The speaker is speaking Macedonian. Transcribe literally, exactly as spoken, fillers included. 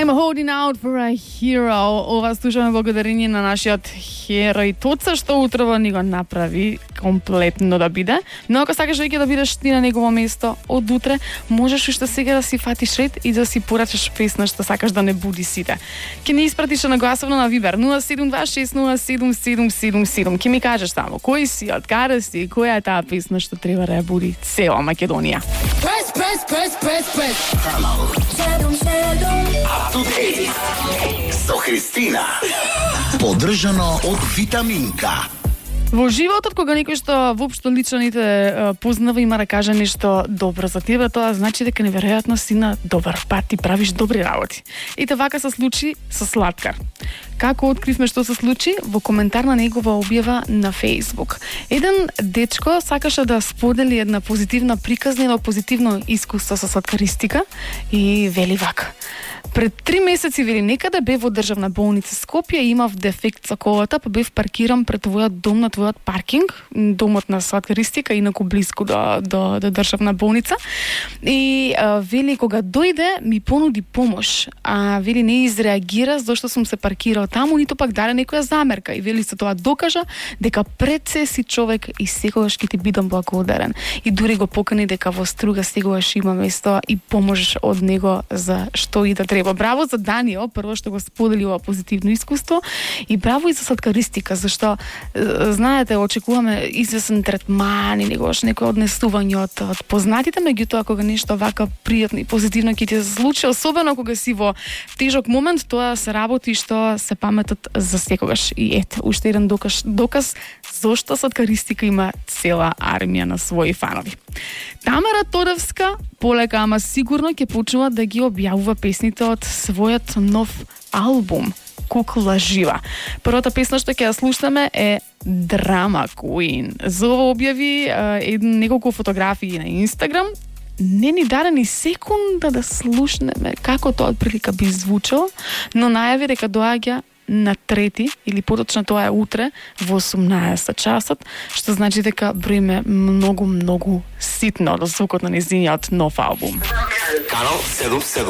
I'm holding out for a hero. Ова слушаме благодарение на нашиот херој Тоца, што утрово ни го направи комплетно да биде. Но ако сакаш веќе да бидеш ти на негово место од утре, можеш уште сега да си фатиш ред и да си порачаш песна што сакаш да не буди сите. Ке ни испратиш на гласовно на Вибер нула седум два шест нула седум седум седум седум. Ке ми кажеш тамо кој си, од каде си, која е таа песна што треба да ја буди цела Македонија. Press, press, press, press, press. Up to date со Христина. Поддржано од Витаминка. Во животот, кога некој што воопшто лично не те познава има да каже нешто добро за тебе, тоа значи дека неверојатно си на добар пат и правиш добри работи. И те вака се случи со Слаткар. Како откривме што се случи? Во коментар на негова објава на Facebook. Еден дечко сакаше да сподели една позитивна приказна, едно позитивно искуство со сладкаристика и вели вака. Пред три месеци, вели, некаде бев во државна болница Скопје, имав дефект со колата, па бев паркиран пред твојот дом на твојот паркинг, домот на сладкаристика, инаку близко до, до, до државна болница. И а, вели, кога дојде, ми понуди помош. А вели, не изреагира зашто сум се паркирал таму, ниту пак даде некоја замерка. И вели, со тоа докажа дека пред се си човек и секогаш ќе ти бидам благодарен. И дури го покани дека во Струга секогаш има место и помош од него за што и да треба. Браво за Даниел, прво што го сподели ова позитивно искуство, и браво и за сладкаристика, зашто знаете, очекуваме известен третман и негош некој однесување од, од познатите, меѓутоа кога нешто вака пријатно и позитивно ќе ти се случи, особено кога си во тежок момент, тоа се работи што се паметат за секогаш. И ете, уште еден доказ, доказ зошто сладкаристика има цела армија на своји фанови. Тамара Тодевска полека, ама сигурно ќе почнува да ги објавува песните од својот нов албум Кукла жива. Првата песна што ќе ја слушаме е Drama Queen. За ова објави еден неколку фотографии на Инстаграм. Не ни даде ни секунда да слушнеме како тоа отприлика би звучало, но најави дека доаѓа на трети, или поточно тоа е утре, во осумнаесет часот, што значи дека броиме многу, многу ситно до звукот на нејзиниот нов албум. Канал седум седум.